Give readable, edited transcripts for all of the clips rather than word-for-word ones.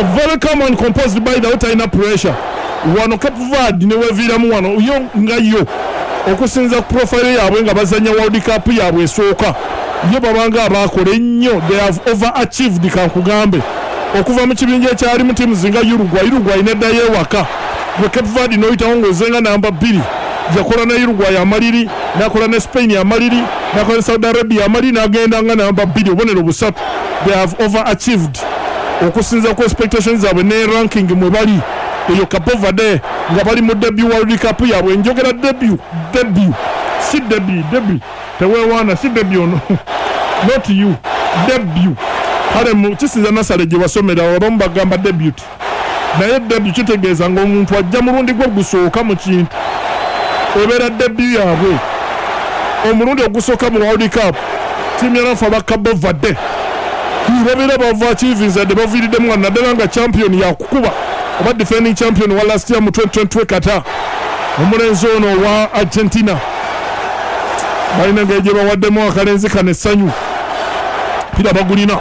Very calm and composed. By the way, talina pressure wano. Cape Verde neweviiramu wano yo nga yo okusinza ku profile yaabwe nga bazanya World Cup yaabwe esooka, yo babanga abakola ennyo. They have over achieved. Kankugambe, okuva mu kibinja ekyalimu teams nga Uruguay, Uruguay neddayo ewaka, gwe Cape Verde n'oyitawo ng'ozenga namba 2. Yakola ne Uruguay amaliri, nakola ne Spain amaliri, nakola ne Saudi Arabia amaliri, n'agenda nga namba 2, obubonero busatu. They have over achieved okusinza ku expectations zaabwe ne ranking mwe bali. Eyo Cape Verde nga bali mu debut World Cup yaabwe. Njogera debut, debut, si debut, debut teweewaana, si debut ono, not you, debut. Kale kisinza nasale gye wasomera, abamu bagamba debut, naye debut kitegeeza ng'omuntu ajja mulundi gwe gusooka mu kintu. Ebeera debut yaabwe, omulundi ogusooka mu World Cup. Tiimu yanafe aba Cabo Verde babeera bava kivinzadde, baviiriddemu nga naddala nga champion yakukuba oba defending champion wa last year mu 2022 Qatar, omulenzi ono owa Argentina. Balina engeri gye bawaddemu akalenzi kano essanyu. Pira bagulina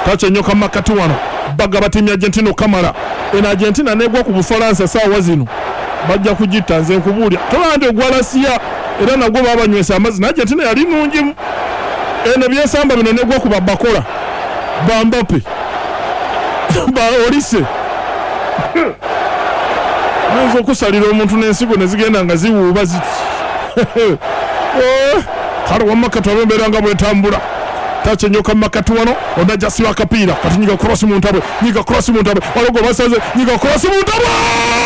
takyenyoka makati wano, bagaba tiimu ya Argentina okamala. Eno Argentina negwa ku Bufalansa saawa zino bajja kugitta. Nze nkubuulya, tolaba nti ogwa lasiya era nagwo babanywesa amazzi, naye Argentina yali nungimu. Eno byesamba bino negwa ku babakola ba Mbappe, ba Olise, oyinza okusalira omuntu n'ensigo ne zigenda nga ziwuuba ziti. Oh, kale wamma katwabe embeera nga bwetambula. Takyenyoka makati wano, onajja siba akapiira kati. Nyiga cross mu ntabwe, nyiga cross mu ntabwe, waliwo gwe basaze. Nyiga cross mu ntabwe.